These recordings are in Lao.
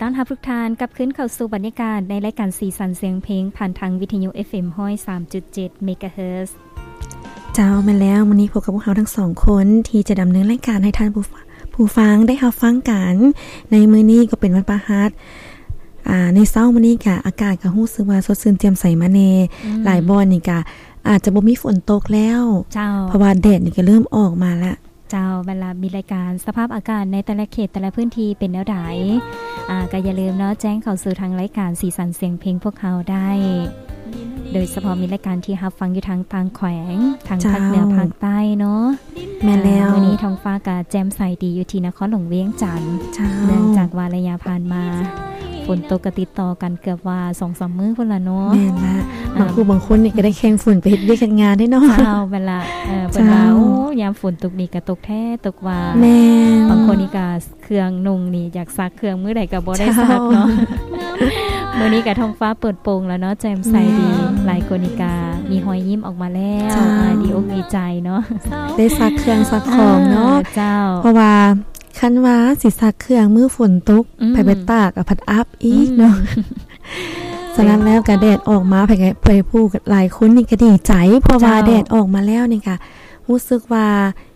ຕ້ອນຮັບທຸກທ່ານກັບຄືນເຂົ້າສູ່ບັນຍາກາດໃນລາຍການສີສັນສຽງເພງ ຜ່ານທາງວິທະຍຸ ເອັຟເອັມ ຮ້ອຍສາມຈຸດເຈັດ ເມກາເຮີດ. ເຈົ້າ ແມ່ນແລ້ວ, ມື້ນີ້ພົບກັບພວກເຮົາທັງສອງຄົນ ທີ່ຈະດຳເນີນລາຍການໃຫ້ທ່ານຜູ້ ຜູ້ຟັງໄດ້ຮັບຟັງກັນ. ໃນມື້ນີ້ກໍເປັນວັນພະຫັດ ອ່າ ໃນເຊົ້າມື້ນີ້ກະອາກາດກໍຮູ້ສຶກວ່າສົດຊື່ນແຈ່ມໃສມາແດ່. ອືມ ຫຼາຍບ່ອນນີ້ກະອາດຈະບໍ່ມີຝົນຕົກແລ້ວ. ເຈົ້າ ເພາະວ່າແດດນີ້ກໍເລີ່ມອອກມາລະ. ເຈົ້າ ບັດລະມີລາຍການສະພາບອາກາດໃນແຕ່ລະເຂດແຕ່ລະພື້ນທີ່ເປັນແນວໃດ ອ່າ ກໍຢ່າລືມເນາະ ແຈ້ງເຂົ້າສູ່ທາງລາຍການສີສັນສຽງເພງພວກເຮົາໄດ້ ໂດຍສະເພາະມີລາຍການທີ່ຮັບຟັງຢູ່ທາງຕ່າງແຂວງ ທາງ ເຈົ້າ ພາກເໜືອພາກໃຕ້ເນາະ. ແມ່ນແລ້ວ ມື້ນີ້ທ້ອງຟ້າກະແຈ່ມໃສດີຢູ່ທີ່ນະຄອນຫຼວງວຽງຈັນ. ເຈົ້າ ເນື່ອງຈາກວ່າໄລຍະຜ່ານມາ ຝົນຕົກກະຕິດຕໍ່ກັນເກືອບວ່າສອງສາມມື້ພຸ້ນລະເນາະ. ແມ່ນລະ ອ່າ ບາງຜູ້ບາງຄົນນີ້ກະໄດ້ແຂ່ງຝົນໄປເຮັດວຽກເຮັດງານເດ້ເນາະ. ເຈົ້າ ແມ່ນລະ ເອີ ເພິ່ນວ່າ ເຈົ້າ ໂອ້ ຍາມຝົນຕົກນີ້ກະຕົກແທ້ຕົກວ່າ. ແມ່ນ ບາງຄົນນີ້ກະ ເຄື່ອງນຸ່ງນີ້ຢາກຊັກເຄື່ອງມື້ໃດກໍບໍ່ໄດ້ ເຈົ້າ ຊັກເນາະ. ມື້ນີ້ກະທ້ອງຟ້າເປີດໂປ່ງແລ້ວເນາະ ແຈ່ມໃສດີ. ແມ່ນ ຫຼາຍຄົນນີ້ກະມີຮອຍຍິ້ມອອກມາແລ້ວ. ເຈົ້າ ອ່າ ດີອົກດີໃຈເນາະ ໄດ້ຊັກເຄື່ອງຊັກຂອງເນາະ. ເອີ ເຈົ້າ ເພາະວ່າຄັນວ່າຊິຊັກເຄື່ອງມື້ຝົນຕົກ ອືມ ໄປ ໄປຕາກ ອາ ພັດອັບອີກເນາະ. ອືມ ສະນັ້ນແລ້ວກະແດດອອກມາ ໃຜ ໃຜຜູ້ຫຼາຍຄົນນີ້ກະດີໃຈ ເພາະວ່າ ເຈົ້າ ແດດອອກມາແລ້ວນີ້ກະຮູ້ສຶກວ່າ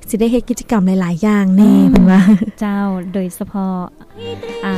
ຊິໄດ້ເຮັດກິດຈະກຳຫຼາຍໆຢ່າງແດ່ ອືມ ເພິ່ນວ່າ. ເຈົ້າ ໂດຍສະເພາະ ອ່າ